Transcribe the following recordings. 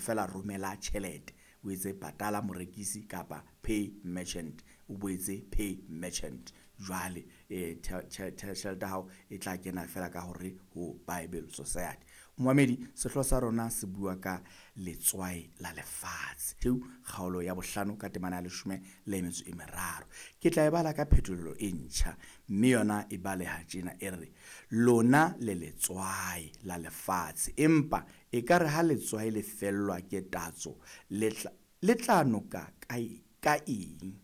feela romela tjhelete, o etse patala morekisi kapa pay merchant, o boetse pay merchant. Jwale tjhelete ya hao e tla kena feela ka hore ho Bible Society. Momamedi, sehlooho sa rona se bua ka letswai la lefatshe. Teu kgaolo ya bohlano ka temana ya leshome le metso e meraro. Ke tla e bala ka phetolelo e ntjha, mme yona e baleha tjena e re, lona le letswai la lefatshe, empa ekare ha letswai le fellwa ke tatso, le tla noka ka eng?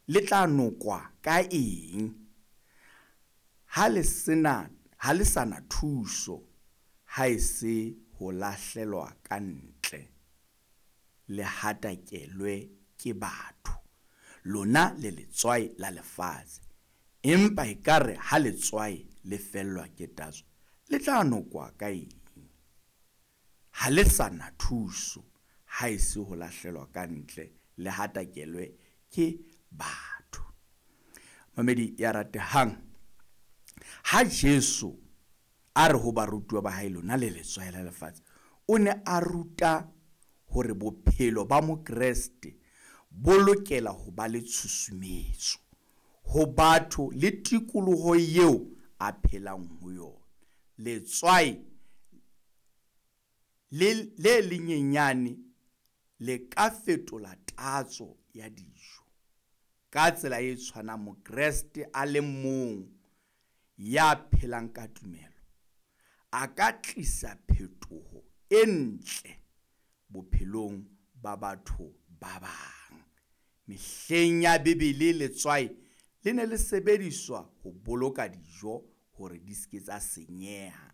Le tla nokwa ka eng? Ha le sena, ha le sa na thuso, ha e se ho lahlelwa ka ntle, le hatakelwe ke batho. Lona le letswai la lefatshe, empa ekare ha letswai le fellwa ke tatso, le tla nokwa ka eng? Ha le sa na thuso, ha e se ho lahlelwa ka ntle, le hatakelwe ke batho. Mamedi ya ratehang, ha Jesu a re ho barutuwa ba hae, lona le letswai la lefatshe, o ne a ruta hore bophelo ba Mokreste bo lokela ho ba le tshusumetso ho batho le tikoloho eo a phelang ho yona. Letswai le lenyenyane le ka fetola tatso ya dijo. Ka tsela e tshwanang, Mokreste a le mong ya phelang ka tumelo a ka tlisa phetoho e ntle bophelong ba batho ba bang. Mehleng ya Bibele letswai le ne le sebediswa ho boloka dijo hore di se ke tsa senyeha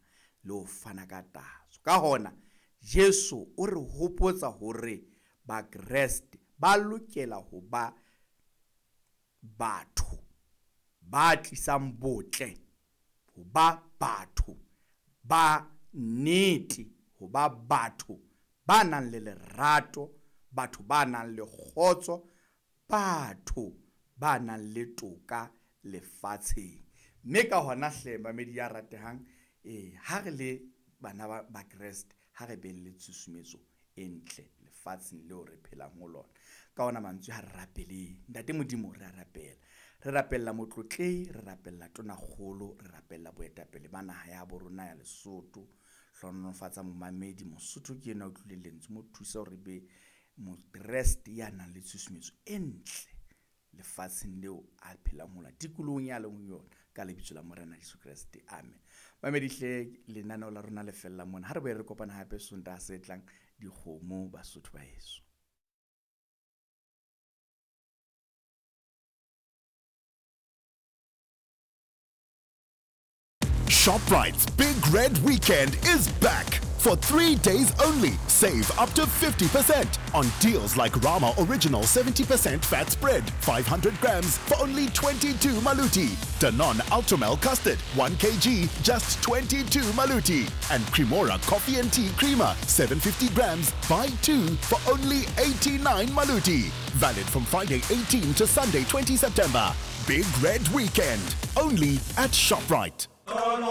le ho fana ka tatso. Ka hona Jesu o re hopotsa hore Bakreste ba lokela ho ba batho ba tlisang botle, ho ba batho ba nnete, ho ba batho ba nang le lerato, batho ba nang le kgotso, batho ba nang le toka lefatsheng. Mme ka hona hle mamedi ya ratehang, ha re le bana ba Bakreste, ha re beng le tshusumetso e ntle lefatsheng leo re phelang ho lona. Ka ona mantswe ha re rapeleng. Ntate Modimo, re a rapela. Re rapella motlotlehi, re rapella tonakgolo, re rapella boetapele ba naha ya bo rona ya Lesotho. Hlohonolofatsa momamedi, Mosotho ke enwa a utlwileng lentswe, mo thusa hore be Mokreste ya nang le tshusumetso e ntle lefatsheng leo a phelang ho lona, tikolohong ya leng ho yona, ka lebitso la Morena Jesu Kreste, amen. Mamedi hle, lenaneo la rona le fella mona. Ha re boye re kopana hape Sontaha se tlang, dikgomo Basotho ba heso. ShopRite's Big Red Weekend is back. For 3 days only, save up to 50% on deals like Rama Original 70% fat spread, 500 grams for only 22 maluti. Danone Ultramel Custard, 1 kg, just 22 maluti. And Cremora Coffee and Tea Creamer, 750 grams, buy 2 for only 89 maluti. Valid from Friday 18 to Sunday 20 September. Big Red Weekend, only at ShopRite.